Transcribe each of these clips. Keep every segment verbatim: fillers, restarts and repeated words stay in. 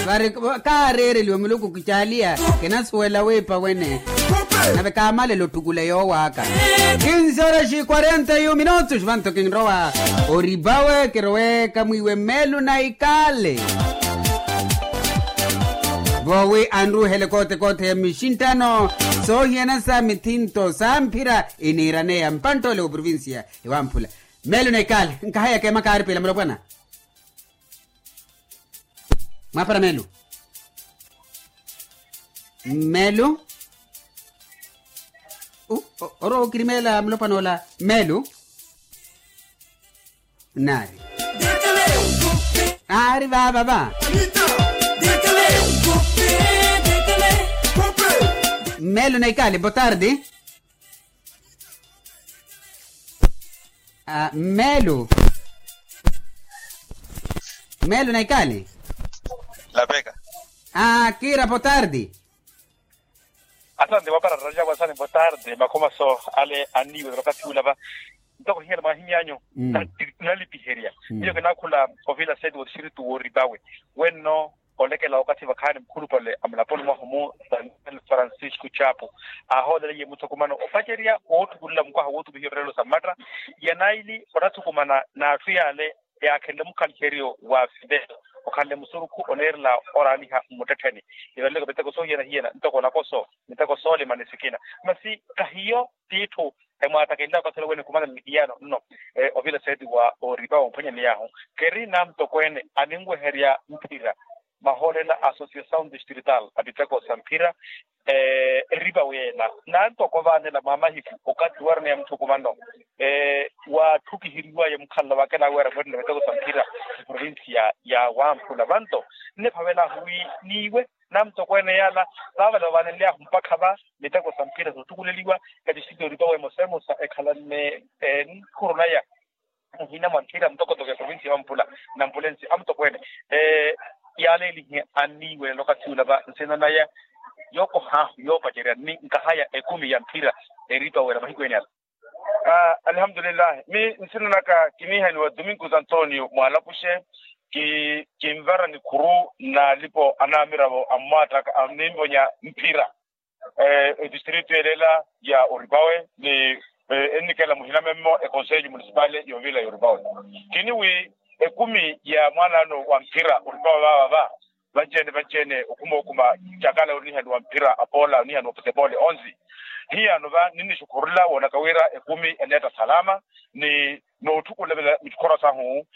Vari kaareereliwe muluku kicaaliya. Kinasuwela wiipa wene. Nave kaamalelo ottukula yoowaka. Kinsi oraxi quarenta e um minutos vanto kinrowa oripawe kirowe kamwiiwe melu na ikaale. Voowi anruuhele kote kote ya mixinttano soohiyana sa mithinto sa mphira iniiraneya mpanttole wa provincia ewamphula. Melu na ikaale nkahaya keema kaaripela mulopwana. Mwaapara melu. Melu. Orowa okirimeela mulopwana ola. Melu. Naari. Aari vaavava. Melu na ikaale botardi. Melu. Melu na ikaale. Lapeka. Kiira botardi. Asante mwaapara rajabo asante botardi makhomaso ale anniiwe vakati ula va. Ntoko hiyana mwahimyanyu. Nalipiherya. Miyo kinaakhula ovila seti wa distritu woripawe wenno. Olekela wakathi vakhaani mukhulupale a mulaponi mwahu mu daniel francisco chapu aahoolele iye muthukumano opacerya woottukulela mukwaha wootumihiwa evirelo sa mmatta ya naili onathukumana n'atthu yaale yaakhenle mukhaliheriyo wa fidel okhanle musurukhu oneerela oraaniha mmuttettheni. Ivaleleke miteko soohiyana hiyana ntoko nakoso miteko soolima ni sikina masi kahiyo t'itthu emwaatakenlaka okathi olowe ni khumanela nihiyano nno. Ovila seeti wa oripa womphwanyaney'ahu keri namtokweene aninweherya mphira mahoolela associasaw distrital a miteko sa mphira eripa weena nantoko vaanela mwa mahiku okathi warineya muthukumano waatthukiheriwaye mukhalala wakenaweera mweettela miteko sa mphira eprovincia ya wamphula vanto nniphavel'ahu wi niiwe namtokweene yaala vaavale vavaanenly'ahu mpakha va miteko sa mphira soottukuleliwa. Etixitori towe emosa emosa ekhalanne enkhuru naya muhina mwa mphira mutokotoko ya provincia ya wamphula nampulensi amutokweene yaaleelihe anniiwelela okathi ula va nsina naya yookoh'ahu yoopacerya ni nkahaya ekumi ya mphira eripa wela mahiku ene ala. Alihamdulillahi mi nsina naka kiniihaniwa domingo santonio mwalapuxe. Kinvara nikhuru n'alipo anaamiravo ammwaattaka aninvonya mphira edistritu yelela ya oripawe ni ennikela muhina memmo ekonselho municipale y'ovila y'oripawe. Kini wi ekumi ya mwaanaano wa mphira oripawe vaava va vanci-ene vanci-ene okhuma okhuma cakala onihaniwa mphira apoola onihaniwa futepole onsi hiyano va ninnixukhurula woonaka wira ekumi eneetta salama ni nootthukulela mitthukoro sahu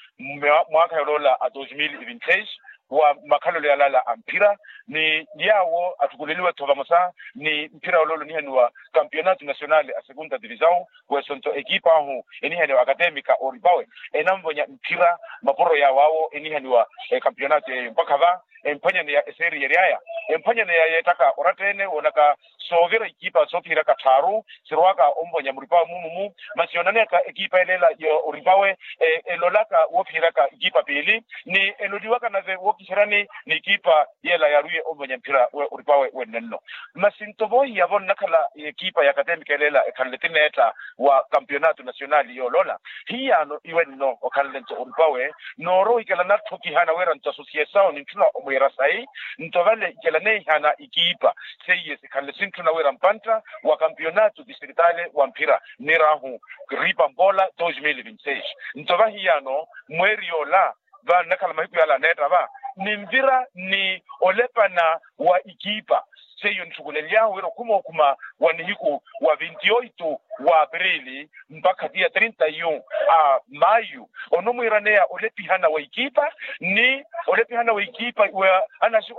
mwaakha yoloola a dos mil e vinti seis wa makhalelo yalala a mphira ni yaawo atthukuleliwe-tho vamosa ni mphira yoloola onihaniwa campeonato nacional a segunda divisão wesonto ekipa ahu enihaniwa academica oripawe enanvonya mphira mapuro yaawo awo enihaniwa ekampeonato yeeyo mpakha va emphwanyaneya eseeri yery'aya emphwanyaneya yeettaka oratta-ene woonaka soovira ikipa soophiyeraka tthaaru sirwaka onvonya muripawe mumumu masi yoonaneyaka ekipa eleela ya oripawe elolaka woophiyeraka ikipa piili ni eloliwaka nave wookiseryani ni ikipa yeela yaarwiye onvonya mphira oripawe wenne nno. Masi nto voohiya vo nnakhala ekipa ya academica eleela ekhanle tineetta wa campeonato nacional yooloola hiyaano iwe nno okhanle nto oripawe noorowa ikela natthukihana wira nto associasaw nintthuna omwiira sayi nto vale ikela neehana ikipa seiye sikhanle sintthuna wira mpantta wa campeonato districtale wa mphira nnir'ahu ripa mpola dos mil vinti seis nto vahiyaano mweeri yoola va nnakhala mahiku yaala aneetta va ninvira ni olepana wa ikipa seiyo ntthukulely'ahu wira okhuma okhuma wa nihiku wa vinti oito wa aprili mpakha tiya trinta e um a mayu onomwiiraneya olepihana wa ikipa ni olepihana wa ikipa wa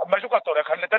maxukatora ekhanle